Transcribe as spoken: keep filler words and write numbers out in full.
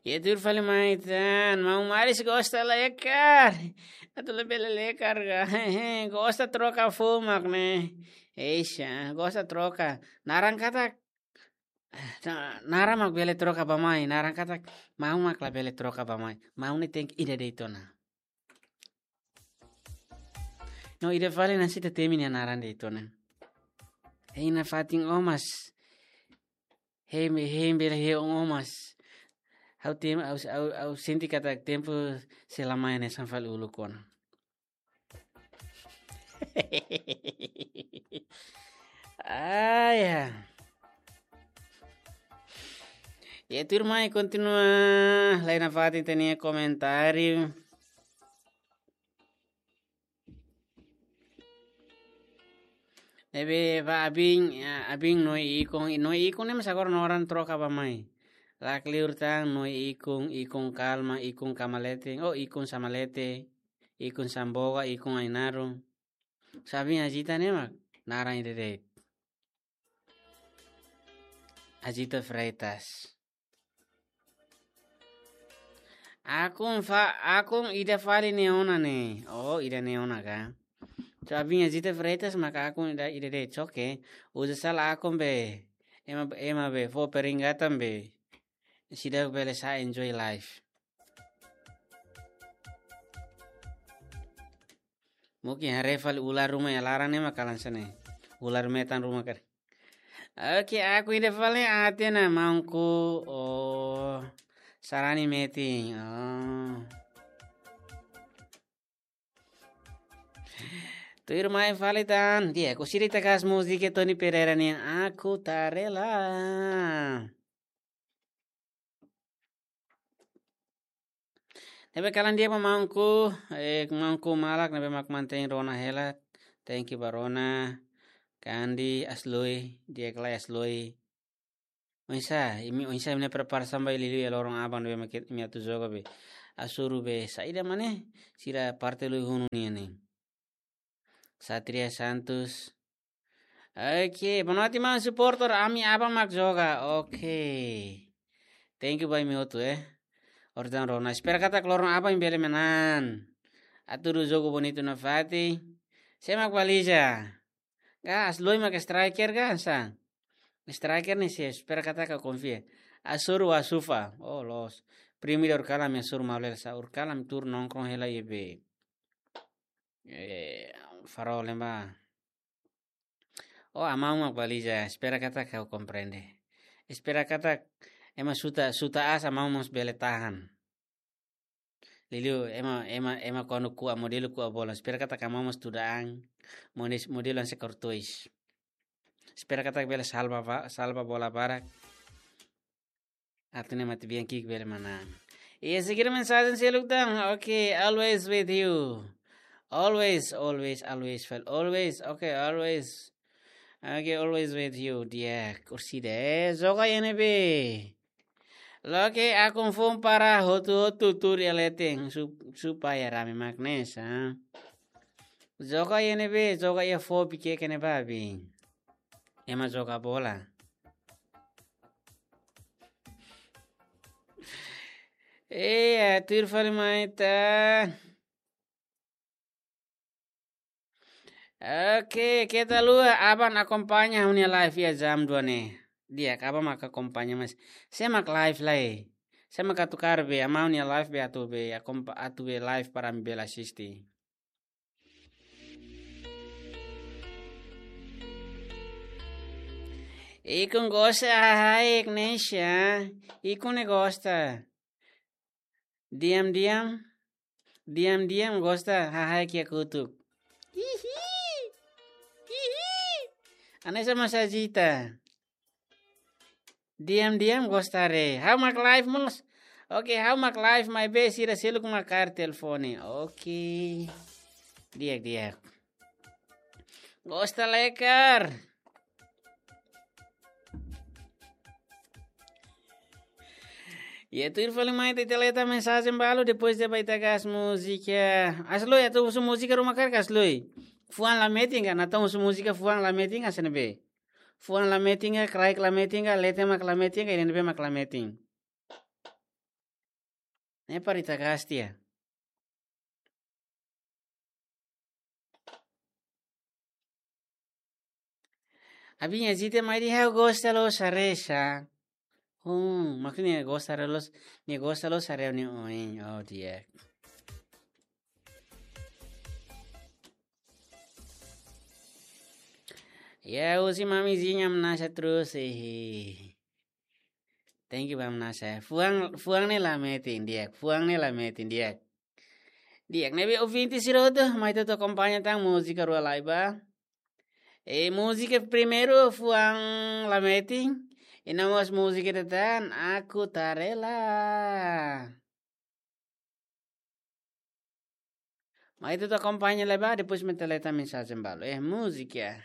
Ita tuir fali mai tan, maun Maris gosta lekar. Atu labele lekar ka. Gosta troka foun mak ne'e. Eixa, gosta troka. Naran katak, na-, naran mak bele troka bá-mai. Naran katak, maun mak labele troka bá-mai. Maun ne'e tenke ida de'it ona. No, ida fali nasi te temi nia naran de'it ona. Hein nafatin omas. Hein, hein bele hein omas. Ha'u tem-, ha'u, ha'u, ha'u sente katak tempu sei la mai hanesan fali uluk ona. Ah, ya. Ya, tuirmai kontinua lai nafatin ita-nia komentáriu. Ne'ebé ba abin, ya, abin Noi Ikun, Noi Ikun ne'e mós agora naran troka bá-mai. Lakleur tan Noi Ikun, Ikun Kalma, Ikun Kamalete, oh, Ikun Samalete, Ikun Samboga, Ikun Ainaro. Só abin Azita ne'e mak naran ida de'it. Azita Freitas. Akun fa-, akun ida fali ne'e ona ne'e. Oh, ida ne'e ona ka. Só abin Azita Freitas maka akun ida, ida de'it, oke. Uza sala akun be. Ema, ema be fó peringatan be. Seidauk bele sa'e enjoy life. Mungkin haree fali ular ruma iha laran ne'e mak kalan sene. Ular metan ruma karik. Oke, akun ida fali, Atena maunku. Oh, sarani metin. Oh. Tuirmai fali tan. Di'ak, orsida ita hakat múzika Tony Pereira nian, Aku Tak Rela. Ne'ebé kalan di'ak ba maunku, eh, maunku malak ne'ebé mak mantein rona hela. Thank you ba rona. Kandi, Asloi, di'ak lai Asloi. Oinsá, imi oinsá imi-nia preparasaun ba liuliu iha loron aban ne'ebé mak imi atu joga be. Hasoru be saida mak ne'e, sira parte lui hunu nian ne'e. Satria Santos. Oke, boa noite, maun suporter. Ami aban mak joga. Oke. Thank you ba imi hotu, eh. Orsida rona. Espera katak loron aban imi bele manán. Atu halo jogu bonitu nafatin. Sé mak baliza? Ka Asloi mak striker ka, sá? Striker ne'e sé, espera katak ha'u konfia. Hasoru Asufa. Oh, loos. Primeiru ur kalam hasoru maulel sa ur kalam tur nongkrong hela iha be. Eh, Farol ne'ebá. Oh, amaun mak baliza, espera katak ha'u komprende. Espera katak ema suta, suta aas amaun mós bele tahan. Liuliu ema, ema, ema kuandu ku'a modelu ku'a bola. Espera katak amaun mós tuda an, mode-, modelu hanesan Courtois. Espera katak bele salva ba-, salva bola barak. Atu nune'e mate-bian ki'ik bele manán. Iha seguir mensajen seluk tan. Oke, always with you. Always, always, always, fel-, always. Oke, always. Oke, always with you. Di'ak, orsida, eh, joga iha ne'ebé. Loke akun foun para hotu-hotu tuur iha leten. Su-, supaya rame mak ne'e sa. Joga iha ne'ebé, joga iha fo pike kene babi. Ema joga bola. Eh, tuir fali mai tan. Oke, keta haluha, aban akompaña ha'u-nia live iha jam dua ne'e. Di'ak, aban mak akompaña, mas sé mak live lai. Sé mak atu kaer be, amaun nia live be atu be, akompa-, atu be live para ami bele asiste. Ikun gosta hahai Ignacia. Ikun ne'e gosta. Diam-diam. Diam-diam gosta hahai kiak kutuk. Hihi. Hihi. Hanesan mós Azita. Diam-diam gosta re. Ha'u mak live mós. Oke, ha'u mak live maibé sira seluk mak kaer telefone. Oke. Di'ak, di'ak. Gosta lekar. Ya, tuir fali mai ita leta mensajen balu, depois ita bá ita hakat múzika. Asloi, atu husu múzika ruma karik Asloi? Fuan la metin ka, Natal husu múzika fuan la metin ka, hanesan ne'ebé? Fuan la metin ka, kraik la metin ka, leten mak la metin ka, iha ne'ebé mak la metin? Ne'e para ita gasta. Abinha zite mai di ha'u gosta loos haree sa. Hmm, maksudnya gosta loos, nia gosta loos haree nia oin. Oh, di'ak. Ya, husi mamizinha manasa terus, eh. Thank you, ba manasa. Fuan, fuan ne'e la metin, di'ak. Fuan ne'e la metin, di'ak. Di'ak, ne'ebé ouvinte sira hotu, mai ita atu akompaña tan múzika rua lai ba. E múzika primeiru fuan la metin, i no mós múzika ida tan, Aku Tak Rela. Mai ita atu akompaña lai ba, depois mai ita lee tan mensajen balu. Eh, múzika.